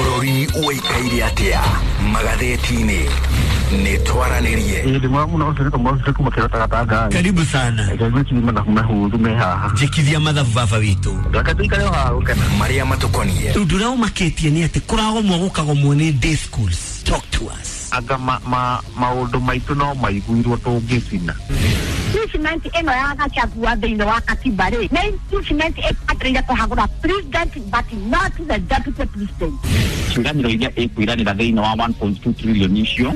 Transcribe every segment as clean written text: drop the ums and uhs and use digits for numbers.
Bũrũri ũikaire atĩa magathĩti-inĩ nĩ twaranĩrie. Karibu sana. Njĩkithia mathabu baba witũ. Marĩa matũkoniĩ. Ũndũ ũrĩa ũmakĩtie nĩ atĩ kũragomwo gũkagomwo nĩ day schools. Talk to us. Anga maũndũ maitũ no maiguirwo tũngĩcina. Impeachment ĩno ya Gachagua thĩinĩ wa katiba rĩ nĩ impeachment ĩbataire kũhagũra president but not the deputy president. Ciĩranĩro iria ĩkwĩranĩra thĩinĩ wa 1.2 trillion icio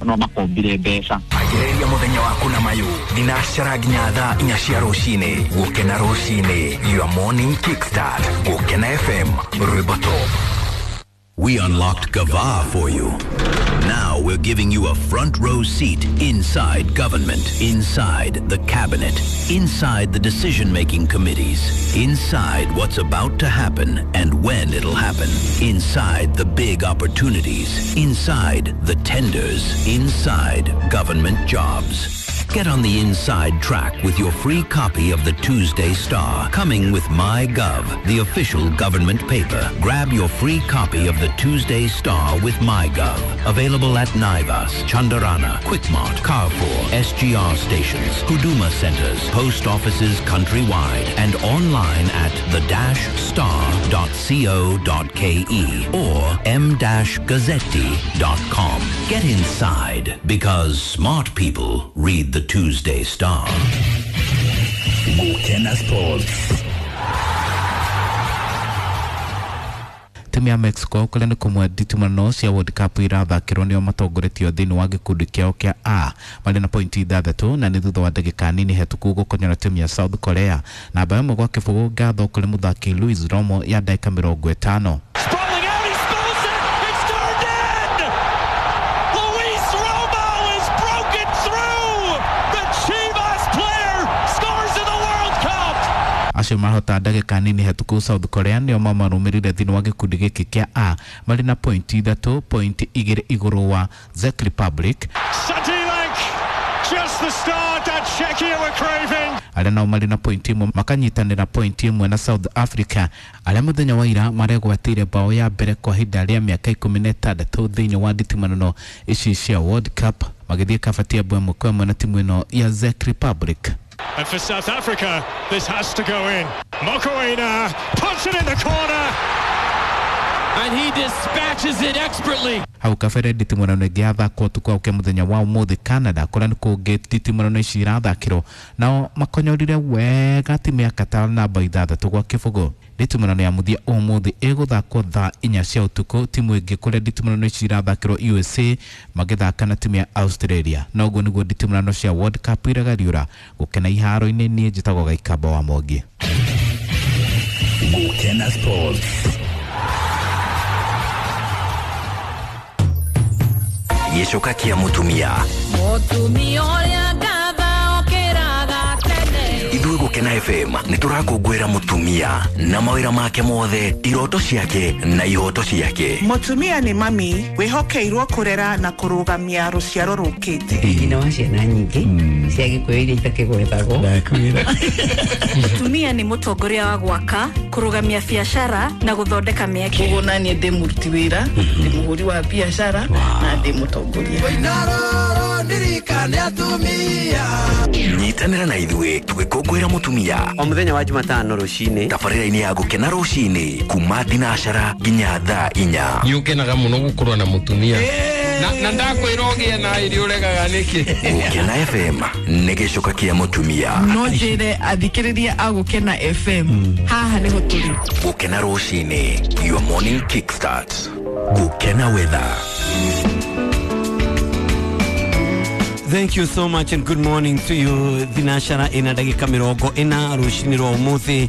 no makombire mbeca. Ambĩrĩria mũthenya waku na mayũ thinacara nginya thaa 4 cia rũcinĩ. Gũkena rũcinĩ, your morning kickstart. Gũkena FM, rwĩmbo top. We unlocked Gava for you. Now we're giving you a front row seat inside government, inside the cabinet, inside the decision-making committees, inside what's about to happen and when it'll happen, inside the big opportunities, inside the tenders, inside government jobs. Get on the inside track with your free copy of the Tuesday Star, coming with MyGov, the official government paper. Grab your free copy of the Tuesday Star with MyGov. Available at Naivas, Chandarana, Quickmart, Carrefour, SGR stations, Huduma centers, post offices countrywide, and online at the-star.co.ke or m-gazzetti.com. Get inside, because smart people read the Tuesday Star. Gũkena Sports. Timu ya Mexico kũrĩa nĩ kũmwe nditimũrano cia World Cup irathakĩrwo nĩo matongoretio thĩinĩ wa gĩkundi kĩao kĩa A marĩ na pointi 6 na nĩ thutha wa ndagĩka nini hetũku gũkonyora timu ya South Korea namba 1-0 ngatho kũrĩ mũthaki Luis Romo ya ndagĩka 50. Acio mahota ndagĩka nini hetũku South Korea nĩo mamarũmĩrĩire thĩinĩ wa gĩkundi gĩkĩ kĩa A marĩ na pointi 3 pointi 2 igũrũ wa Czech Republic. Just the start that Czechia were craving. Arĩa nao marĩ na pointi 1 makanyitanĩra pointi 1 na South Africa arĩa mũthenya wa ira maregwatĩire bao ya mbere kwa ihinda rĩa mĩaka 16 thĩinĩ wa nditimũrano ici cia World Cup magĩthiĩ kabati ya 1-1 na timu ĩno ya Czech Republic. And for South Africa, this has to go in. Mokoena puts it in the corner. And he dispatches it expertly. Hau kabere nditimũrano ĩngĩ yathakwo ũtukũ wa mũthenya wa ũmũthĩ Canada kũrĩa nĩ kũngĩ nditimũrano ici irathakĩrwo nao makonyorire wega timu ya Qatar namba 6-0. Nditimũrano ya mũthia ũmũthĩ ĩgũthakwo thaa 4 cia ũtukũ timu ĩngĩ kũrĩa nditimũrano ici irathakĩrwo USA magĩthaka na timu ya Australia. Na ũguo nĩguo nditimũrano cia World Cup iragariũra. Gũkena iharo-inĩ niĩ njĩtagwo Gaikamba wa Mwangi. Gũkena Sports. Gĩcoka kĩa mũtumia. Mũtumia ũrĩa ngatha okĩraga tene. Ithuĩ Gũkena FM nĩ tũrakũngũĩra mũtumia na mawĩra make mothe, iroto ciake na ihoto ciake. Mũtumia nĩ mami wĩhokeirwo kũrera na kũrũgamia rũciaro rũkĩte. Nyina wa ciana nyingĩ cia Gĩkũyũ iria itakĩgwetagwo. Mũtumia nĩ mũtongoria wa gwaka, kũrũgamia biacara na gũthondeka mĩeke. Koguo naniĩ ndĩ mũruti wĩra, ndĩ mũhũri wa biacara na ndĩ mũtongoria. Nyitanĩra na ithuĩ tũgĩkũngũĩra mũtumia o mũthenya wa Jumatano rũcinĩ tabarĩra-inĩ ya Gũkena rũcinĩ kuma thinacara nginya thaa 4. Nĩ ũkenaga mũno gũkorwo na mũtumia na ndakwĩra ũgĩe na irio ũregaga nĩkĩ. Gũkena FM nĩ gĩcoka kĩa mũtumia. No njĩre athikĩrĩria a Gũkena FM haha nĩho tũrĩ. Gũkena rũcinĩ, your morning kickstart. Gũkena weather. Thank you so much and good morning to you. Thinashara ina ndagĩka 40 rũcinĩ rwa ũmũthĩ.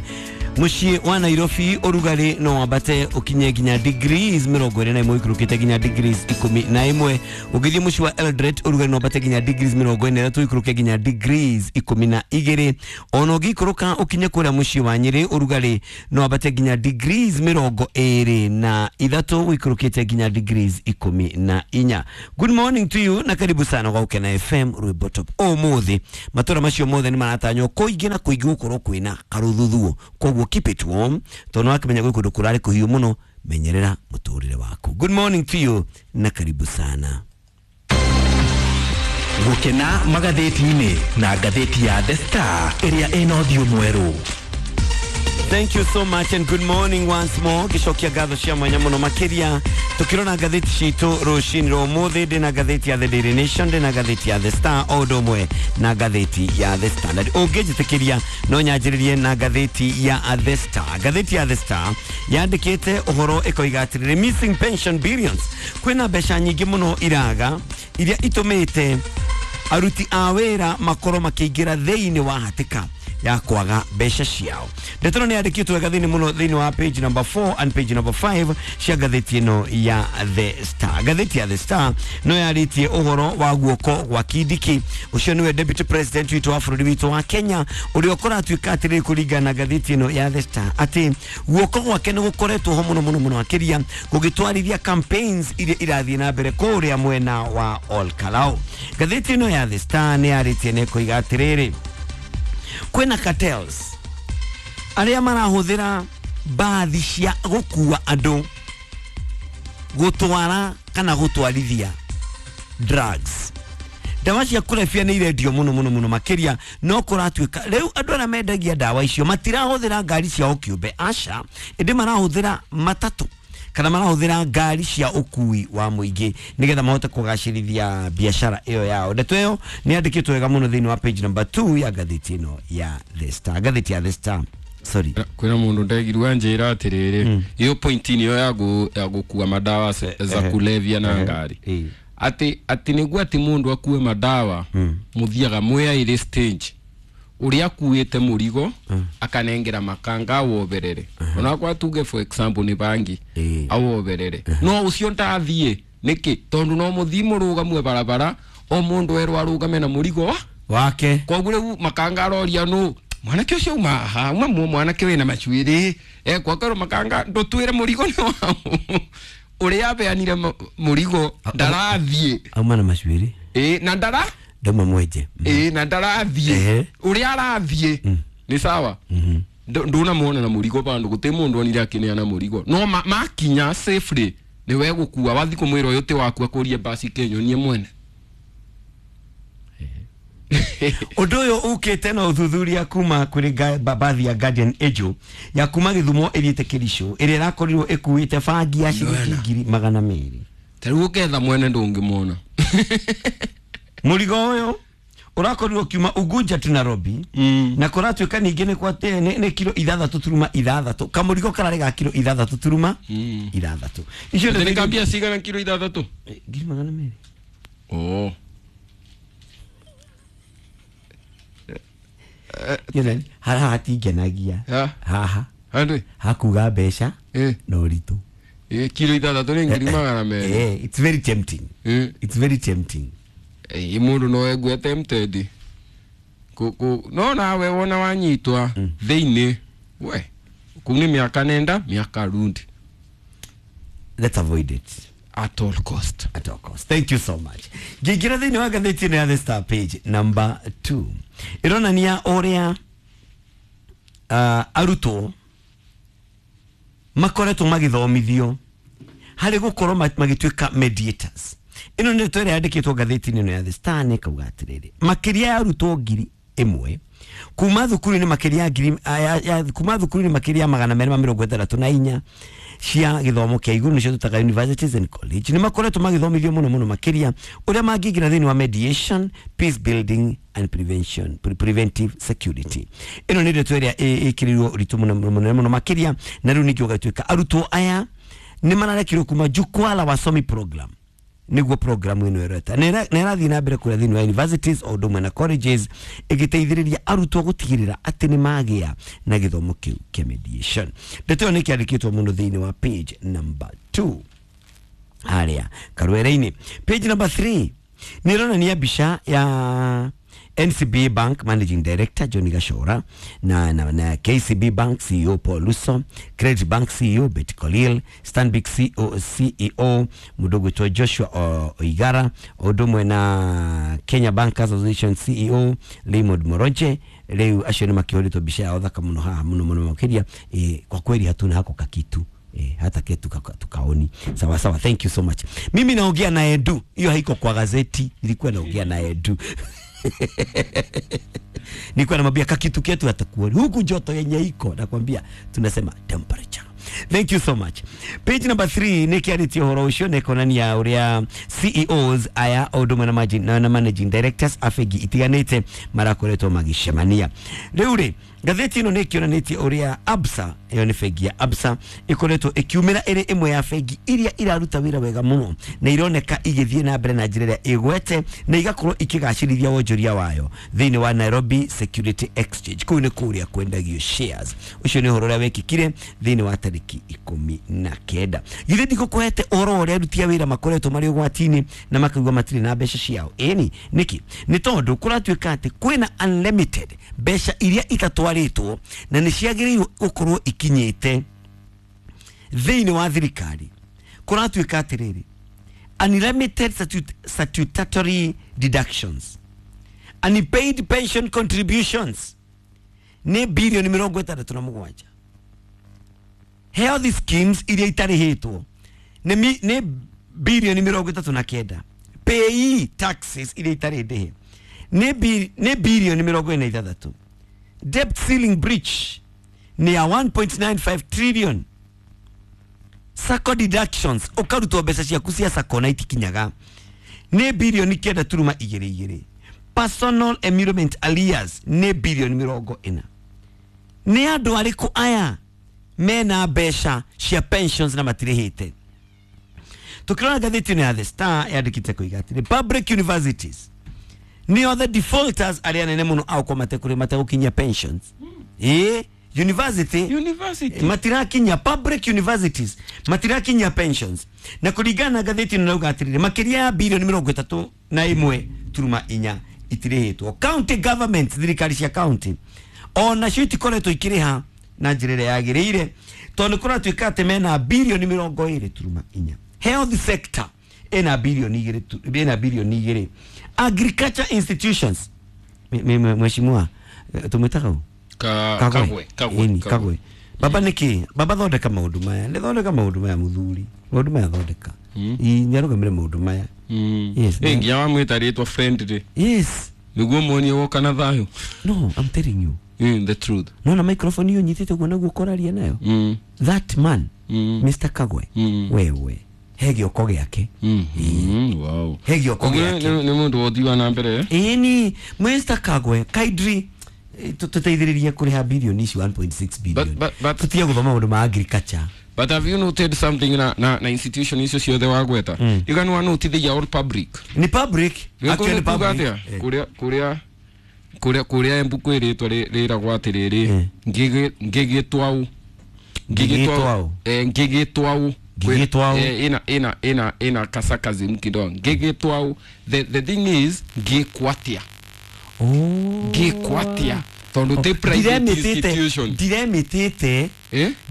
Mũciĩ wa Nairobi ũrugarĩ no wambate ũkinye nginya degrees 21 ũikũrũkĩte nginya degrees 11. Ũngĩthiĩ mũciĩ wa Eldoret ũrugarĩ no wambate nginya degrees 43 ũikũrũke nginya degrees 12. Ona ũngĩikũrũka ũkinye kũrĩa mũciĩ wa Nyĩrĩ ũrugarĩ no wambate nginya degrees 23 ũikũrũkĩte nginya degrees 14. Good morning to you na karibu sana kwa Gũkena FM rwĩmbo top. Ũmũthĩ matũra macio mothe nĩ maratanywo kũingĩ na kũingĩ gũkorwo kwĩna karũthuthuo, koguo keep it warm tondu wakimenya gwĩ kũndũ kũrarĩ kũhiũ mũno, menyerera mũtũrĩre waku. Good morning to you na karibu sana. Gukena magathĩti-inĩ na ngathĩti ya The Star ĩrĩa ĩna ũthiũ mwerũ. Thank you so much and good morning once more. Gicokia ngatho cia mwanya muno makiria tukirona ngathĩti citũ rũcinĩ rwa ũmũthĩ. Ndĩna ngathĩti ya The Daily Nation, ndĩna ngathĩti ya The Star o ũndũ ũmwe na ngathĩti ya The Standard. Ũngĩnjĩtĩkĩria no nyanjĩrĩrie na ngathĩti ya The Star. Ngathĩti ya The Star yandĩkĩte ũhoro ĩkoiga atĩrĩrĩ, missing pension billions, kwĩna mbeca nyingĩ mũno iraga iria itũmĩte aruti a wĩra makorwo makĩingĩra thĩinĩ wa hatĩka ya kwaga mbeca ciao. Ndeto nĩ yandĩkĩtwo wega thĩinĩ mũno thĩinĩ wa page number 4 and page number 5 cia ngathĩti ĩno ya The Star. Ngathĩti ya The Star no yarĩtie ũhoro wa guoko gwa Kindiki, ũcio nĩwe deputy president witũ wa bũrũri witũ wa Kenya, ũrĩa ũkoratuĩka atĩrĩrĩ kũringana na ngathĩti ĩno ya The Star atĩ guoko gwake nĩ gũkoretwo ho mũno mũno mũno makĩria gũgĩtwarithia campaigns iria irathiĩ na mbere kũrĩa mwena wa Ol Kalou. Ngathĩti ĩno ya The Star nĩ yarĩtie na ĩkoiga atĩrĩrĩ, kwĩna cartels arĩa marahũthĩra mbathi cia gũkua andũ gũtwara kana gũtwarithia drugs. Ndawa cia kũrebia nĩ irendio mũno mũno mũno makĩria, no kũratuĩka rĩu andũ arĩa mendagia ndawa icio matirahũthĩra ngari ciao kĩũmbe, aca, ĩndĩ marahũthĩra matatũ kana marahũthĩra ngari cia ũkui wa mũingĩ nĩgetha mahote kũgacĩrithia biacara ĩyo yao. Ndeto ĩyo nĩ yandĩkĩtwo wega mũno thĩinĩ wa page number 2 ya ngathĩti ĩno ya The Star. Ngathĩti ya The Star, sorry, kwĩna mũndũ ndegirwa njĩra atĩrĩrĩ, iyo point niyo ya gũkua madawa za kulevya na ngari atĩ nĩguo atĩ mũndũ akue madawa mũthiaga mwĩ ĩrĩ stage uria akuite murigo akanengera makanga awoberere. Ona kwa tuge for example ni bangi awoberere, no ucio ndathie niki tondu no muthi murugamwe barabara o mundu erwo arugame na murigo wake. Koguo riu makanga aroria nu mwanake ucio uma haha uma mwanake wina macuiri ekwa makanga ndutwire murigo ni wao uria abeanire murigo ndarathie auma na macuiri na ndara ndoma mweje na ndarathie uria arathie ni sawa. Nduna muona na murigo bandu guti mundu onire akineana murigo no makinya safely ni we gukua wathi kumwira uyu ti waku akurie basi kenyonie mwene. Undu uyu ukite na uthuthuria kuma kuri babathi ya Guardian Angel ya kuma Githumo iriite Kericho iria irakorirwo ikuite bangi ya ciringi 200,000. Ta riu uketha mwene ndungimwona. Murigo uyu urakorirwo kiuma Unguja tu Nairobi na kuratuika ningi ni kwate ni kilo 6.6 kamurigo karari ga kilo 6.6. Icio ni kambia cigana kilo 6? 200,000. Oh. Yone haha hatingenagia haha hakuga mbeca na ũritũ. Kilo 6 ni 200,000. It's very tempting. It's very tempting. Mundu no egue tempted no nawe wona wanyitwa thiini we kuu ni miaka nenda miaka rundi. Let's avoid it at all cost. At all cost. Thank you so much. Ngĩingĩra thĩinĩ wa ngathĩti ĩno ya The Star page number 2 ĩronania ũrĩa arutwo makoretwo magĩthomithio harĩ gũkorwo magĩtuĩka mediators. Ĩno nĩ ndeto ĩrĩa yandĩkĩtwo ngathĩti-inĩ ĩno ya The Star nĩ ĩkauga atĩrĩrĩ, makĩria ya arutwo 1,000 kuma thukuru-inĩ makĩria kuma thukuru-inĩ makĩria 264 cia gĩthomo kĩa igũrũ nĩcio tũtaga universities and college nĩ makoretwo magĩthomithio mũno mũno makĩria ũrĩa mangĩingĩra thĩinĩ wa mediation, peace building and prevention, preventive security. Ĩno nĩ ndeto ĩrĩa ĩkĩrĩirwo ũritũ mũno mũno mũno makĩria, na rĩu ningĩ ũgatuĩka arutwo aya nĩ mararekirwo kuma Jukwaa la Wasomi program niguo programu ĩno ĩreta na ĩrathiĩ na mbere kũrĩa thĩinĩ wa universities o ũndũ ũmwe na colleges ĩgĩteithĩrĩria arutwo gũtigĩrĩra atĩ nĩ magĩa na gĩthomo kĩu kĩa mediation. Ndeto ĩyo nĩ kĩandĩkĩtwo mũno thĩinĩ wa page number 2 harĩa karwere-inĩ. Page number 3 nĩ ĩronania mbica ya NCBA Bank Managing Director Johnny Gachora na KCB Bank CEO Paul Luso, Credit Bank CEO Betty Kolil, Stanbic CEO mundu gwitwo Joshua Oigara, undu umwe na Kenya Bankers Association CEO Raymond Moroje. Riu acio ni makihuritwo mbica yao thaka muno haha muno muno makiria. Kwa kweli hatuna hako kakitu Hata ketu tukaoni. Sawa sawa, thank you so much. Mimi naongea na Edu, hiyo haiko kwa gazeti, nilikuwa naongea na Edu. Nilikuwa namwambia kakitu ketu atakuoni huku joto yenye iko, nakwambia tunasema temperature. Thank you so much. Page number 3 nikiarĩtie ũhoro ũcio nĩ kuonania ũrĩa CEOs aya o ũndũ ũmwe na managing directors a bengi itiganĩte marakoretwo magĩcemania. Rĩu rĩ, ngathĩti ĩno nĩ ĩkĩonanĩtie ũrĩa Absa, ĩyo nĩ bengi ya Absa, ĩkoretwo ĩkiumĩra ĩrĩ ĩmwe ya bengi iria iraruta wĩra wega mũno na ironeka igĩthiĩ na mbere na njĩra ĩrĩa ĩgwete na igakorwo ikĩgacĩrithia wonjoria wayo thĩinĩ wa Nairobi Security Exchange. Kũu nĩ kũrĩa kwendagio shares. Ũcio nĩ ũhoro ũrĩa wekĩkire thĩinĩ wa tarĩki 19. Githĩ ndikũkũhete ũhoro ũrĩa aruti a wĩra makoretwo marĩ ũgwati-inĩ na makaigua matirĩ na mbeca ciao. Ĩni nĩkĩ? Nĩ tondũ kũratuĩka atĩ kwĩna unlimited mbeca iria itatwarĩtwo na nĩ ciagĩrĩirwo gũkorwo ikinyĩte thĩinĩ wa thirikari. Kũratuĩka atĩrĩrĩ, unlimited statutory deductions, unpaid pension contributions nĩ bilioni 67. Health schemes iria itarĩhĩtwo nĩ bilioni 39. PAYE taxes iria itarĩ ndĩhe nĩ bilioni 46. Debt ceiling breach ni ya 1.95 trillion. Sacco deductions ukarutwo mbeca ciaku cia sacco na itikinyaga nĩ bilioni 9.22. Personal emolument arrears nĩ bilioni 40. Nĩ andũ arĩkũ aya mena mbeca cia pensions na matirĩhĩte? Tukirora ngathĩti ya The Star yandĩkĩte kuiga atĩrĩ, public universities ni other defaulters arĩa nene mũno au kwa matekũrĩ mategũkinyia pensions. University matirakinyia, public universities matirakinyia pensions. Na kũringana na ngathĩti ĩno nauga atĩrĩrĩ, makĩria ya bilioni 31.4 itirĩhĩtwo. County governments, thirikari cia county ona cio itikoretwo ikĩrĩha na njĩra ĩrĩa yagĩrĩire tondũ kũratuĩka atĩ mena bilioni 20.4. Health sector ĩna bilioni 2, ĩna bilioni 2. Agriculture institutions, mheshimiwa tumwĩtaga ũ? Kagwe. Baba nĩkĩ? Baba thondeka maũndũ maya, nĩ thondeka maũndũ maya mũthuri, maũndũ maya thondeka. Nĩarũgamĩre maũndũ maya. Yes. Nginya wamwĩta rĩtwa friendly. Yes. Nĩguo muonie woka na thayũ. No, I'm telling you. The truth. No, na microphone hiyo nyitĩte ũguo naguo ũkoraria nayo. That man, Mr. Kagwe, wewe he gĩoko gĩake. Wow. He gĩoko gĩake. Nĩ mũndũ wothiaga na mbere. Ĩni, Mr. Kagwe, kindly tũteithĩrĩrie kũrĩha bilioni ici 1.6 billion. Tũtige gũthoma maũndũ ma agriculture. But have you noted something na institution icio ciothe wagweta? Iganwa note they are all public. Ni public. Actually public. Kuria Embu kwĩrĩtwo rĩragwo atĩrĩrĩ, ngĩgĩtwau. Ngĩgĩtwau. Ina kasakazi mkido. Ngĩgĩtwau. The thing is ngĩkwatia. Ngĩkwatia. Tondũ ti private institution. Ndiremitĩte.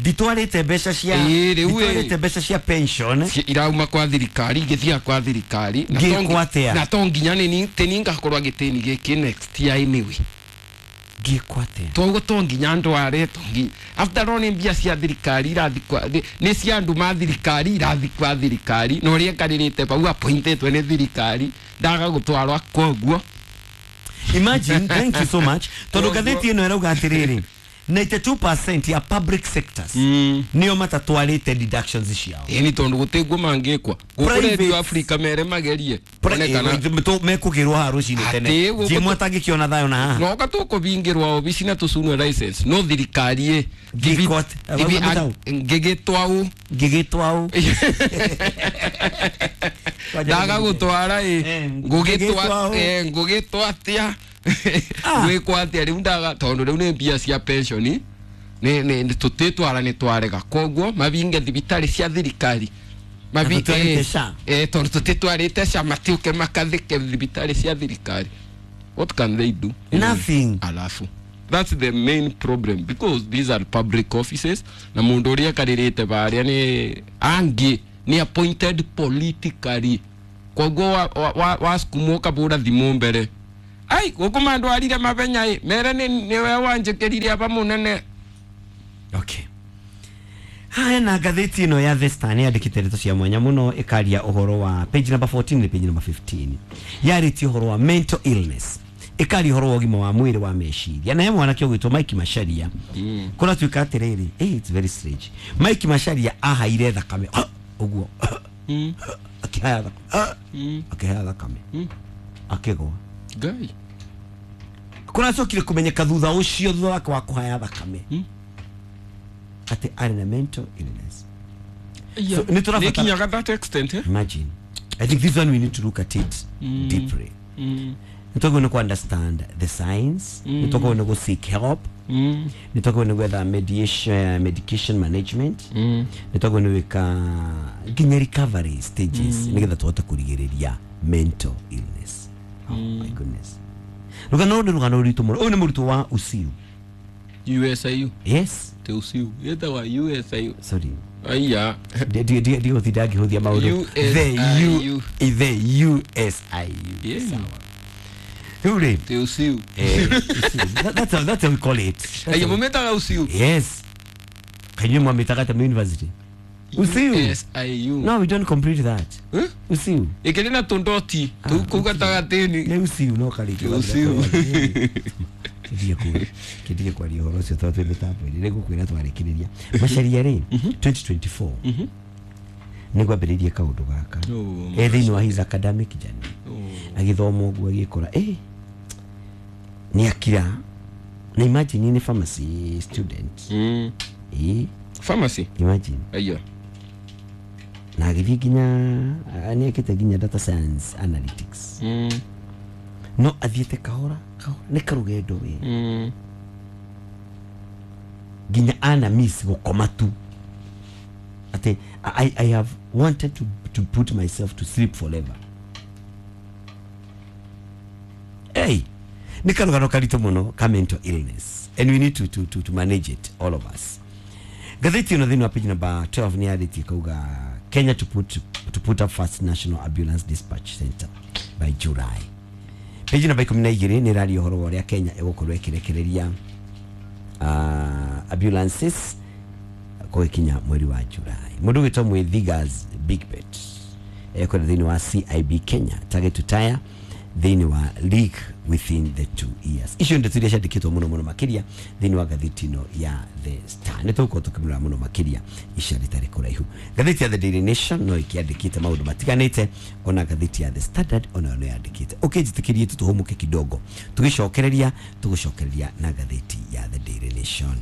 Nditwarĩte mbeca cia nditwarĩte mbeca cia pension irauma kwa thirikari igĩthiaga kwa thirikari ngĩkwatia. Na to nginya nĩ tĩni ngakorwo gĩtĩni gĩkĩ next year anyway. Ngĩkwatia. Toguo to nginya ndware to nginya after all nĩ mbia cia thirikari irathi kwa nĩ cia andũ ma thirikari irathi kwa thirikari na ũrĩa ekarĩrĩte bau appointetwo nĩ thirikari ndaga gũtwarwa koguo. Imagine, thank you so much. Tondũ ngathĩti ĩno ĩrauga atĩrĩrĩ, 92% ya public sectors nĩo matatwarĩte deductions ciao. Ĩni tondũ gũtĩguo mangĩkwa. Gũkũ Radio Africa mere magerie. Mekũgĩrwo haha rũcinĩ tene. Jimwe atangĩkĩona thayũ na haha. No gatũkũbingĩrwo obici na tũcunwe license. No thirikari ĩ. Ngĩgĩtwau. Ngĩgĩtwau. Ndaga gũtwara ĩ. Ngũgĩtwa atĩa. Gwĩkwo atĩa rĩu ndaga tondũ rĩu nĩ mbia cia pension nĩ tũtĩtwara nĩ twarega koguo mabinge thibitarĩ cia thirikari tondũ tũtĩtwarĩte SHA matiũke makathĩke thibitarĩ cia thirikari. What can they do? Nothing. Alafu that's the main problem because these are public offices na mũndũ ũrĩa ekarĩrĩte barĩa nĩ angĩ nĩ appointed politically koguo wasukumwo kabũra thimũ mbere. Ai, gũkũ mandwarire mabenya ĩ mere nĩwe wanjĩkĩrire aba mũnene. Okay. Haya na ngathĩti ĩno ya The Star nĩ yandĩkĩte ndeto cia mwanya mũno ĩkaria ũhoro wa page number 14 na page number 15 yarĩtie ũhoro wa mental illness ĩkaria ũhoro wa ũgima wa mwĩrĩ wa meciria na he mwanake ũgwĩtwo Mike Macharia kũratuĩka atĩrĩrĩ it's very strange. Mike Macharia ahaire thakame ũguo akĩhaya thakame akĩhaya thakame akĩgwa Ngai kũracokire kũmenyeka thutha ũcio thutha wake wa kũhaya thakame ati arĩ na mental illness. So, nĩkinyaga that extent, eh? Imagine. I think this one we need to look at it deeply. Nĩtwagĩrĩirwo nĩ understand the signs, nĩtwagĩrĩirwo nĩ seek help, nĩtwagĩrĩirwo nĩ gwetha mediation, medication management, nĩtwagĩrĩirwo nĩ gwĩka nginya recovery stages nĩgetha tũhote kũrigĩrĩria mental illness. Oh my goodness. Rũgano nĩ rũgano rũritũ mũno. Ũyũ nĩ mũrutwo wa UCU. USIU. Yes. Te UCU. Yetagwa USIU. Sorry. Aya. Ndigũtinda ngĩhũthia maũndũ. The USIU. Yeah. Sawa. Rĩu rĩ. Te UCU. That's how we call it. Aya mumetaga UCU. Yes. Kainyuĩ mwamĩtaga ta university. UCU. USIU. No, we don't complete that. Huh? UCU. Ĩkĩrĩ na tũndoti tũu kũu gatagatĩ-inĩ. Nĩ UCU no karĩki. UCU. Kĩndige kwaria ũhoro ũcio tondũ twĩ mĩtambo-inĩ nĩ ngũkwĩra twarĩkĩrĩria Macharia rĩ 2024 nĩ gwambĩrĩirie kaũndũ gaka e thĩinĩ wa his academic journey agĩthoma ũguo agĩkora nĩ akira na imagine nĩ pharmacy student pharmacy imagine aiyo na agĩthiĩ nginya nĩ ekĩte nginya data science analytics no athiĩte kahora kahora nĩ karũgendo we nginya ana miss gũkoma tu ati I have wanted to put myself to sleep forever. Hey, nĩ karũgano karitũ mũno ka mental illness and we need to manage it, all of us. Ngathĩti ĩno thĩinĩ wa page number 12 nĩ yarĩtie kauga Kenya to put up first national ambulance dispatch center by July. Page number 12 nĩ ĩraria ũhoro wa ũrĩa Kenya ĩgũkorwo ĩkĩrekereria ambulances gũgĩkinya mweri wa July. Mũndũ ũgwĩtwo Mwithiga's Big Bet ekwenda thĩinĩ wa CIB Kenya target to tire thĩinĩ wa league within the 2 years. Icio ndeto iria ciandĩkĩtwo mũno mũno makĩria thĩinĩ wa ngathĩti ĩno ya The Star. Nĩ tũgũkorwo tũkĩmũrora mũno makĩria ica rĩtarĩ kũraihu. Ngathĩti ya The Daily Nation no ĩkĩandĩkĩte maũndũ matiganĩte, ona ngathĩti ya The Standard onayo no yandĩkĩte. Ũkĩnjĩtĩkĩrie tũtũhũmũke kidogo tũgĩcokereria tũgũcokereria na ngathĩti ya The Daily Nation.